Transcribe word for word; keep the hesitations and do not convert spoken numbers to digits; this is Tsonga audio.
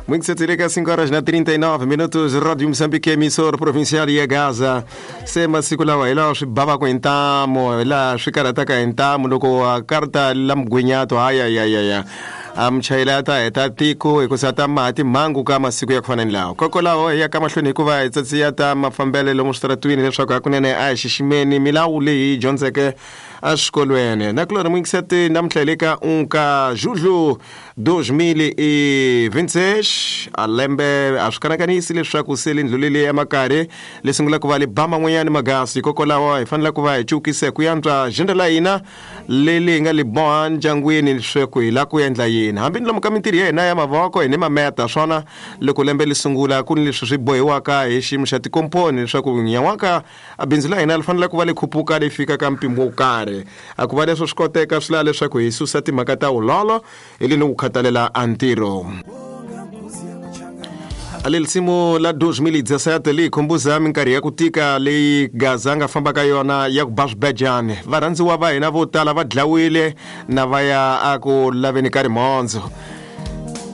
Muito sete cinco horas na trinta e nove minutos, Rádio Moçambique, emissora provincial ya Gaza. Se masiku lawa hi lawa swi bavaka hi ntamu, hi laha swi karhataka hi ntamu loko a karta la mugwinyato hayayayaya a muchayeli a ta heta tiko hikusa ta maha timhangu ka masiku ya ku fana ni lawa. Kokwalaho hi ya ka mahlweni hikuva hi tsatsiya ta mafambelo lomu switaratwini leswaku hakunene a hi xiximeni milawu leyi hi dyondzeke eswikolweni. Nakulorhi muyingiseti namuntlha hi le ka unka julho dois mil e vinte e seis a lembe a swi kanakanisi leswaku se le ndluleli ya makarhi le sungula ku va le ba man'wanyani magasi. Hikokwalaho hi fanele ku va hi cukise ku yantswa jenda la hina leli hi nga le boha ndyangwini leswaku hi la ku endla yini hambi ni lomu ka mintirho ya hina ya mavoko hi ni mameta swona loko lembe li sungula ku ni leswi swi bohiwaka hi xiyimo xa tikomponi leswaku nyan'waka a bindzu la hina li fanele ku va le khupuka le fika ka mpimo wo karhi. A ku va leswo swi koteka swi lava leswaku hi susa timhaka ta vulolo hi le ni ku khathalela a ntirho. Ale lisimu la dois mil e dezessete li khumbuza minkarhi ya ku tika leyi Gaza a nga famba ka yona ya ku ba swibejani. Varhandziwa va hina vo tala va dlawile na va ya a ku laveni ka rimhondzo.